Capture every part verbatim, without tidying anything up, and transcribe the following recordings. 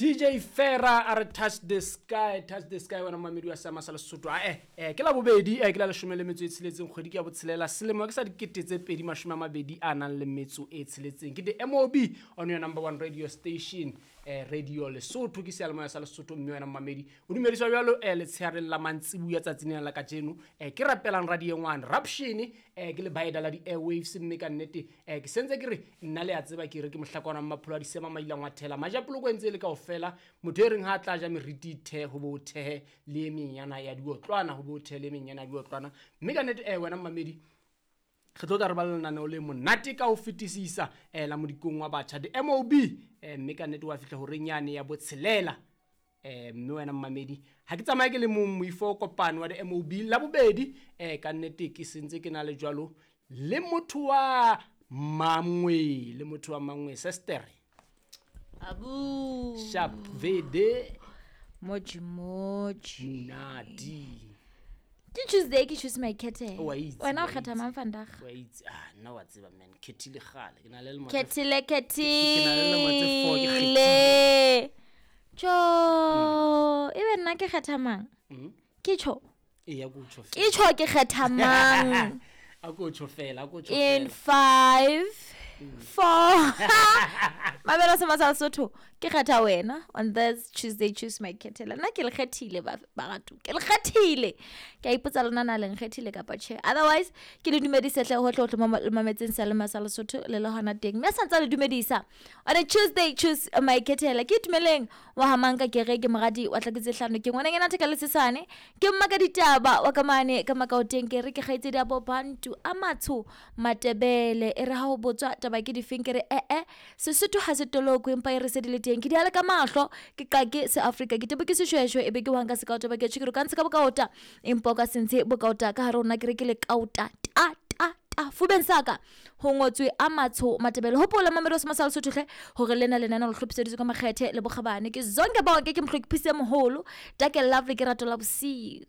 D J Fera a re touch the sky, touch the sky wena mamedi wa Sama sa Lesotho. A eh eh ke la bobedi eh ke la leshome le metso e tsheletseng kgwedi ke ya botshelela selemo ke sa dikete tse pedi mashome a mabedi a nang le metso e tsheletseng. Ke the M O B on your number one radio station eh Radio Lesotho ke seyalemoya sa Lesotho mme wena mamedi o dumediswa jwalo eh letsheareng la mantsibuya tsatsing lena la kajeno eh ke rapelang radio ngwana Raption eh ke le baeda la di airwaves mme ka nnete eh ke sentse ke re nna le a tseba ke re ke mohlakwana mapholo a disema mailang wa thela majapoloko entse le kaofela fela motho e reng ha tla ja meriti the ho bo thehe le e menyana ya diotlwana ho bo thehe le menyana ya diotlwana mme ka nnete eh wena mamedi re tlo tla re ba le lenaneo le monate ka ho fetisisa eh la modikong wa batjha the M O B eh mme ka nnete wa fihla horeng yane ya botshelela eh mme wena mamedi ha ke tsamaye ke le mong moifo kopano wa the M O B la bobedi eh ka nnete ke sentse ke na le jwalo le motho wa mangwe le motho wa mangwe sister Abu Sharp V D Moji moji Nadi Ke Tuesday ke choose my kete. Wena o kgetha mang vandag? Wa itse ah nna wa tseba man khethile gale ke na le lemo Khethile ke na le lemo tse four ke khethile. Cho e be nna ke kgetha mang? Ke cho. E ya go cho fela. Ke cho ke kgetha mang? A go cho fela, a go cho fela. In five four Mabelo se masal Sotho ke kgetha wena on this Tuesday choose my khethela nna ke le kgethile ba batho ke le kgethile ke a ipotsa lona na le nkgethile kapa tjhe otherwise ke le dumedise hle hohle hohle mametseng sa le masal Sotho le le hona teng mme santsa le dumedisa on a Tuesday choose my khethela ke tumeleng wa hamanka ke re ke moradi wa tlaketse hlano ke ngwana ngena theka le sesane ke mma ka ditaba wa ka mane ka makaoteng ke re ke kgaitsedi ya bo Bantu a matsho Matebele e re ha ho botswa taba ke difeng ke re eh eh Sesotho ha se toloko empa e re se di le teng ke di ale ka mahlo ke qake se Afrika ke tebo ke seshweshwe e be ke wanka se ka taba ke tshikiro ka ntshe ka bokaota empa ka sentse bokaota ka hare rona ke re ke le kauta ta ta ta fubeng saka ho ngotswe a matsho Matebele hopola mamelo se masal Sotho hle hore lena lena le hlophiseditswe ka makgethe le bokgabane ke zonke bonke ke mohlophisi moholo take lovely ke rato la bosiu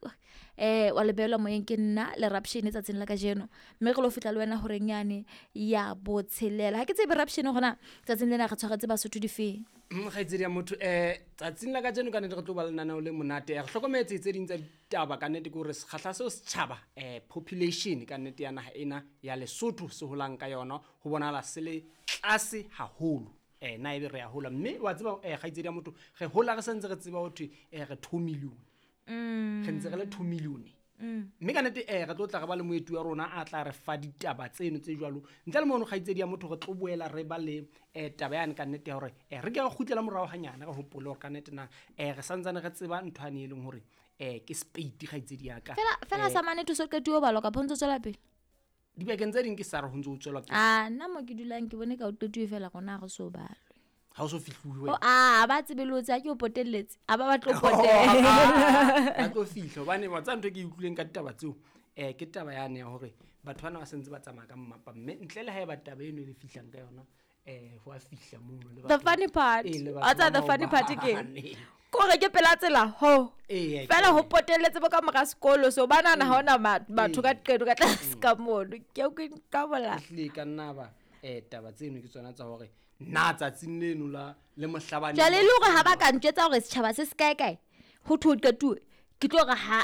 eh wa lebelwa moyeng ke nna le Raption tsatsing la kajeno mme re lo fitla le wena horeng yane ya botshelela ha ke tsebe Raption gona tsatsing lena re tshwaretse Basotho difeng mokgaitsedi ya motho eh tsatsing la kajeno ka nnete re tlo ba lenaneo le monate re hlokometse tse ding tsa ditaba ka nnete ke hore sekgahla seo setjhaba eh population ka nnete ya naha ena ya Lesotho se holang ka yona ho bonahala se le tlase haholo eh na ebe re ya hola mme wa tseba eh kgaitsedi ya motho re hola re sentse re tseba ho thwe eh re two million Mm. re ntse re le two million Mm. mme ka nnete eh re tlo tla re ba le moeti wa rona a tla re fa ditaba tseno tse jwalo ntle le mono kgaitsedi ya motho re tlo boela re ba le eh taba yane ka nnete ya hore eh re ke re kgutlela morao hanyane re hopole hore ka nnete na eh re santsane re tseba ntho ane e leng hore eh ke spade kgaitsedi ya ka fela fela sa mane thuso qetuwe balwa ka pontso tswela pele dibekeng tse ding ke sa re ho ntse ho tswela pele ah nna mo ke dulang ke bone ka o qetuwe fela gona re so balwe ha o so fihluwe o a ba tsebelotse a ke o potelletse a ba ba tlo potela ba tlo fihla hobane wa tsa ntho ke utlwileng ka ditaba tseo eh ke taba yane ya hore batho bana ba sentse ba tsamaya ka mmapa mme ntle le ha e ba taba eno e le fihlang ka yona eh ho a fihla mono le the funny part a tsa the funny part ke kore ke pela tsela ho fela ho potelletse bo ka mora sekolo so ba nana ha ona batho ka qeto ka tlase ka mono ke o ke ka bola ehlile ka nna ba eh taba tseno ke tsona tsa hore nna tsatsing leno la le mohlabane jwale le hore ha ba ka ntjwetsa hore setjhaba se se kae kae ho thwe o qetuwe ke tlo re ha